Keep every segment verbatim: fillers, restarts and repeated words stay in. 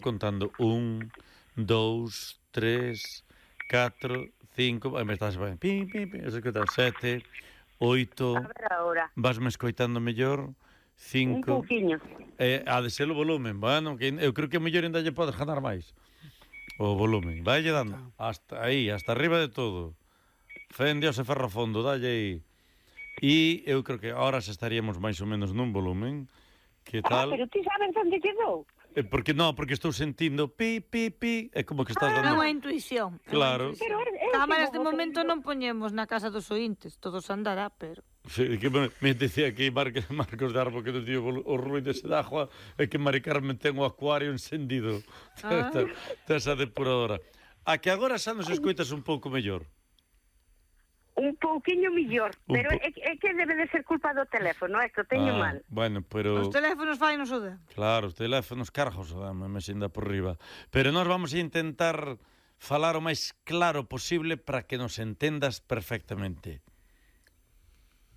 contando un, dous, tres, catro, cinco, aí me estás ben, pim, pim, pim, eso que tal, sete, oito, A ver agora. vasme escoitando mellor, cinco... Un pouquiño. Eh, ha de ser o volumen, bueno, que eu creo que mellor ainda lle podes ganar máis. O volumen, vaille dando, hasta aí, hasta arriba de todo. Fen Dios e ferro fondo, dalle aí. E eu creo que ahora xa estaríamos máis ou menos nun volumen, que tal... Ah, pero ti sabes onde quedou? Eh, porque non, porque estou sentindo pi, pi, pi, é como que estás É dando... unha intuición. Claro. Pero é, é Cámaras de como momento que- non poñemos na casa dos ointes, todos andará, pero... Sí, que me, me decía aquí Marcos, Marcos de Arbo que nos dio o ruído ese de agua é que Mari Carmen ten o acuario encendido. Ah. Tesa depuradora. A que agora xa nos escoitas un pouco mellor. Un pouquiño millor, Un pero po- é, é que debe de ser culpa do teléfono, é que o teño Ah, mal. bueno, pero... Os teléfonos fai nos o de. Claro, os teléfonos cargos, dame, me xinda por riba. Pero nós vamos a intentar falar o máis claro posible para que nos entendas perfectamente.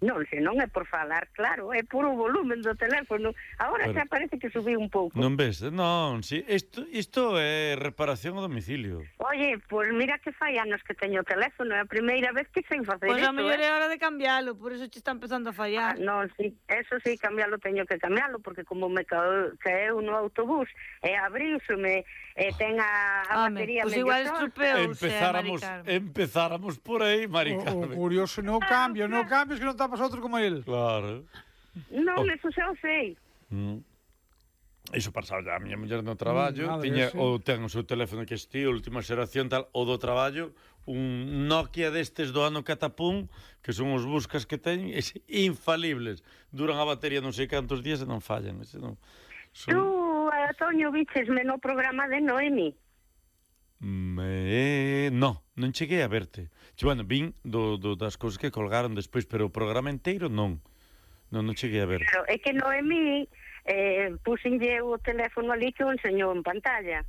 Non, se non é por falar, claro, é por o volumen do teléfono. Agora Pero- xa parece que subí un pouco. Non ves? Non, si, isto, isto é reparación a domicilio. Oye, pois mira que fai anos que teño o teléfono, é a primeira vez que sei facer Pois a isto, mellor eh? é hora de cambialo, por eso che está empezando a Ah, fallar. non, sí, eso sí, cambialo, teño que cambialo, porque como me caeu, caeu no autobús, e abriuseme, e ten a, a Home, batería pois medio igual tonta. estropeouse, Empezáramos, Mari Carmen. empezáramos por aí, Mari O, o Carmen. curioso no cambio, no cambios que non tapas outro como el. Claro. Non, Oh. eso xa o sei. Mm. Iso pasaba a miña muller no traballo, Mm, madre, tiña sí. ou ten o seu teléfono que existía, última xeración tal, o do traballo, un Nokia destes do ano catapum, que son os buscas que teñen, es infalibles. Duran a batería non sei cantos días e non fallan, ese non. Son... Tú, Antonio, vichesme no programa de Noemi. Me... No, non cheguei a verte. Che, bueno, vin do, do, das cousas que colgaron despois, pero o programa inteiro non. Non, non cheguei a ver. Pero é que Noemi eh, puxenlle o teléfono ali que o enseñou en pantalla.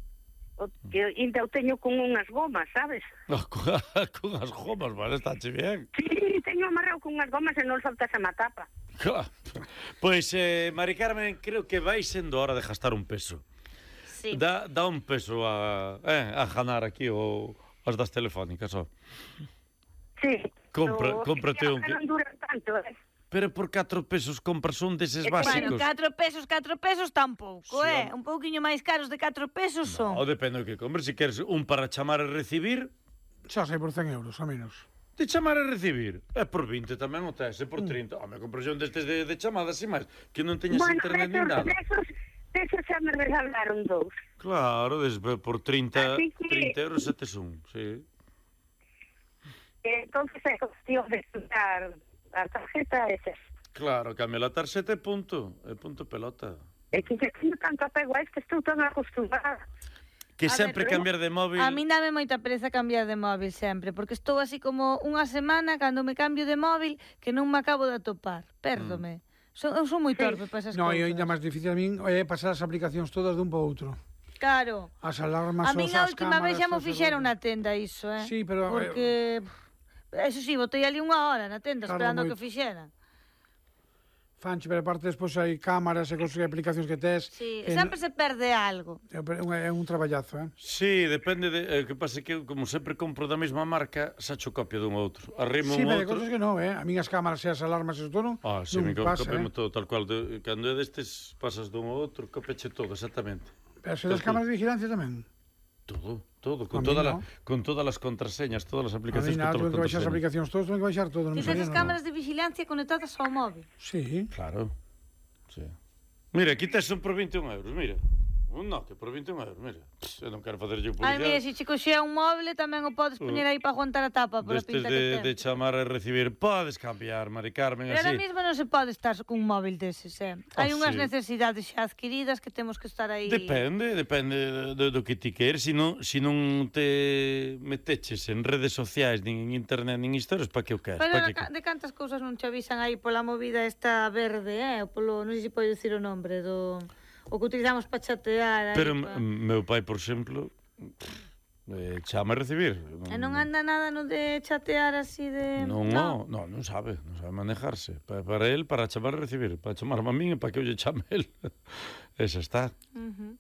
O, que ainda o teño con unhas gomas, sabes? Oh, con, con as gomas, vale, está che bien. Sí, teño amarrado con unhas gomas e non soltas a matapa. Claro. Pois, eh, Mari Carmen, creo que vai sendo hora de gastar un peso. Sí. Dá, dá un peso a, eh, a ganar aquí o, as das telefónicas, ó. Sí. Compra- o, cómprate un que que- non dura tanto, eh? Pero por catro pesos compras un deses Eh, bueno, básicos. Bueno, catro pesos, catro pesos tampouco, Sí, eh? home. Un pouquiño máis caros de catro pesos son. O depende do que compres. Se queres un para chamar e recibir, Xa sei por cen euros, a menos. de chamar e recibir. É por vinte tamén o tes, é por trinta. Home, compras un destes de, de chamadas e máis, que non teñas Bueno, internet nin desos, nada. desos, desos xa me regalaron dous. Claro, des, por trinta, Así que- trinta euros setes un, sí. Entonces é cuestión de estudiar a tarjeta esa. Claro, cambia la tarxeta e punto, e punto pelota. É que que teño tanto apego a isto, estou tan acostumada. Que A sempre ver, cambiar de móvil... A mí dame moita pereza cambiar de móvil sempre, porque estou así como unha semana cando me cambio de móvil que non me acabo de atopar. Pérdome. So, eu son moi torpe para esas No, cousas. e ainda máis difícil a min é pasar as aplicacións todas dun para outro. Claro. As alarmas, A min os, a as última vez xa mo cámaras, os fixeron errores. na tenda iso, eh? Sí, pero, Porque... Eso sí, botei ali unha hora na tenda Tarda esperando moito. que fixeran. Fanche, pero aparte despois hai cámaras e cosas e aplicacións que tes. Sí, e sempre se perde algo. É un, é un traballazo, eh? Sí, depende de... O que pasa é que, como sempre compro da mesma marca, sacho copia dun outro. Arrimo Sí, un pero hai outro... cosas que non, eh? A min as cámaras e as alarmas e todo, Ah, sí, non me co- pasa, copiamo eh? todo, tal cual. De, cando é destes, pasas dun ao outro, copeche todo, exactamente. Pero se das Todo. cámaras de vigilancia tamén. Todo, todo, A con, mí toda no. la, con todas as contraseñas, todas as A aplicacións, mí con nada, todas tuve as que baixar as contraseñas. aplicacións todos, tuve que baixar todo. Non Ti sabía tes as nada. cámaras de vigilancia conectadas ao móvil. Sí. Claro, sí. Mira, aquí tes un por vinte e un euros, mira. Un Nokia por vinte e un euros, mira. Pss, eu non quero facer yo Ai, mira, publicidade. se che coxea un móvil tamén o podes poñer aí para aguantar a tapa por a Destes pinta de, que de ten. chamar e recibir, podes cambiar, Mari Carmen, Pero ahora así. mesmo non se pode estar cun móvil deses, eh? Hai Ah, unhas sí. necesidades xa adquiridas que temos que estar aí... Depende, depende do, do que ti queres. Si non, si non te meteches en redes sociais, nin en internet, nin historias, pa que o queres? Pero Pa de, que... ca- de cantas cousas non te avisan aí pola movida esta verde, eh? O polo, non sei se pode dicir o nombre do... O que utilizamos para chatear aí, Pero pa... m- meu pai, por exemplo, eh, chama a recibir. E non anda nada no de chatear así de... Non, non, non, non sabe, non sabe manejarse. Pa, para el, para chamar e recibir, para chamar a min e para que eu lle chame el. Esa está. Uh -huh.